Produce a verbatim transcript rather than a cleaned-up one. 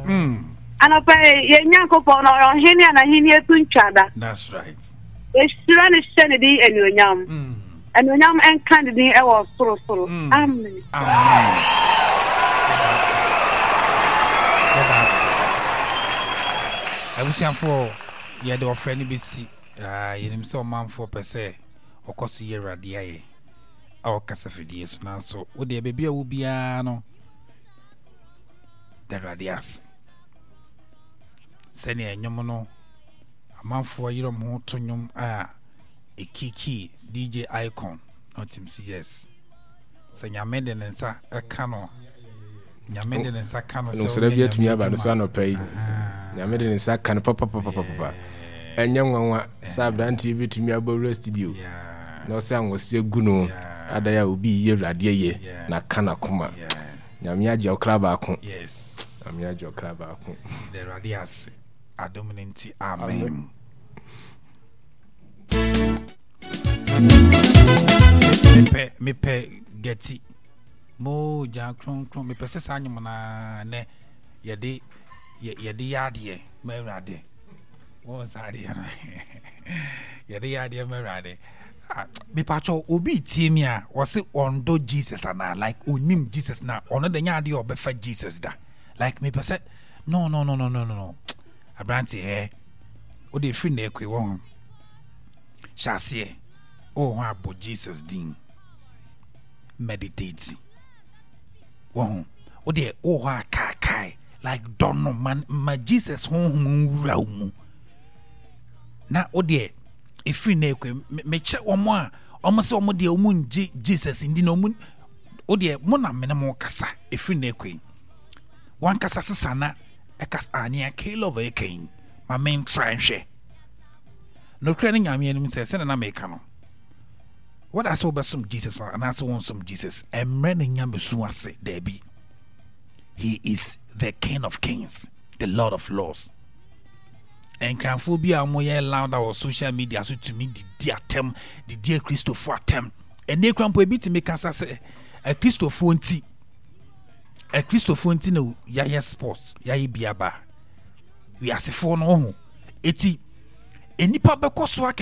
Mm. Anɔpa yi, yɛn Nyankopɔn no, ɔyɛ ɔhene a n'ahenni to ntwa da. That's right. Yɛhyira no hyɛ ne din anuonyam. Mm. Anuonyam nka ne din ɛwɔ sorosoro. Mm. Amen. Amen. Yɛda ase. Yɛda ase. Abusuafoɔ, yɛde ɔfrɛ no bɛsi. Ah, yɛnim sɛ ɔmanfoɔ pɛ sɛ ɔkɔ so yɛ Awurade ayɛ a ɔkasa fidie so, nanso wodeɛ baabi a wo biara no, da Awurade ase. Sɛnea nnwom no amanfoɔ yerɛ ɔmo ho to nnwom a ɛkiki D J Icon na ɔtim sɛ yes, sɛ Nyame de ne nsa ɛka no, Nyame de ne nsa ka no sɛ nsɔrɔ bi ɔnyɛ atumi Nyame aba no so adwuma. Anɔpa yi Nyame de ne nsa ka no papapapapapa. Ɛnyɛ nwanwa sɛ aberanteɛ bi tumi abɔwura studio Yeah. na ɔsɛ anwɔse agu no Yeah. adan a obi yi Awurade ayɛ Yeah. na ka n'akoma. Yeah. Nyame agye ɔkra baako. Yes. Nyame agye ɔkra baako. Yɛda Awurade ase adom no nti. Amen. Amen. mepɛ mepɛ gɛti mogya kronkron. Mepɛ sɛ saa nnwom naa nɛ yɛde yɛ- yɛde yɛ adeɛ ma Awurade. Wɔn saa adeɛ no, yɛde yɛ adeɛ ma Awurade. Ah, mepatwɛ, obi tie mi a wɔse ɔndɔ Jesus anaa like onim Jesus na ɔno de nyɛ adeɛ a ɔbɛfa Jesus da. Like mepɛ sɛ no no no no no no no aberante ɛ, wode ɛfiri na ɛkɔi wɔ ho hyɛ aseɛ wowɔ ho abɔ Jesus din, meditate wɔ ho. Wodeɛ wowɔ hɔ a kaakae, like dɔ no ma, ma Jesus honhom nwura wo mu na wodeɛ ɛfiri na ɛkɔ. Mekyerɛ wɔn a wɔn sɛ wɔn deɛ wɔn ngye Jesus ndi na wɔn wodeɛ mo na mene mo kasa. Ɛfiri na ɛkɔ yi, wankasa sesa na ɛkasa anea Caleb ɛka yi ma mentra nhwɛ nokorɛ no Nyame anim sɛ sɛne na meka no, wɔda sɛ wobɛsom Jesus anaasɛ wonsom Jesus, ɛmmerɛ ne nyamesu ase daabi. He is the King of Kings, the Lord of Lords. Nkranfoɔ bi a wɔyɛ louder wɔ social media so tumi didi atɛm, didi Akristofoɔ atɛm. Ɛnɛ kura mpo ebi tumi kasa sɛ Akristofoɔ nti, Akristofoɔ nti na yɛayɛ sports, yɛayɛ biaba wiasefoɔ no ho. Eti nnipa bɛkɔ so akeka.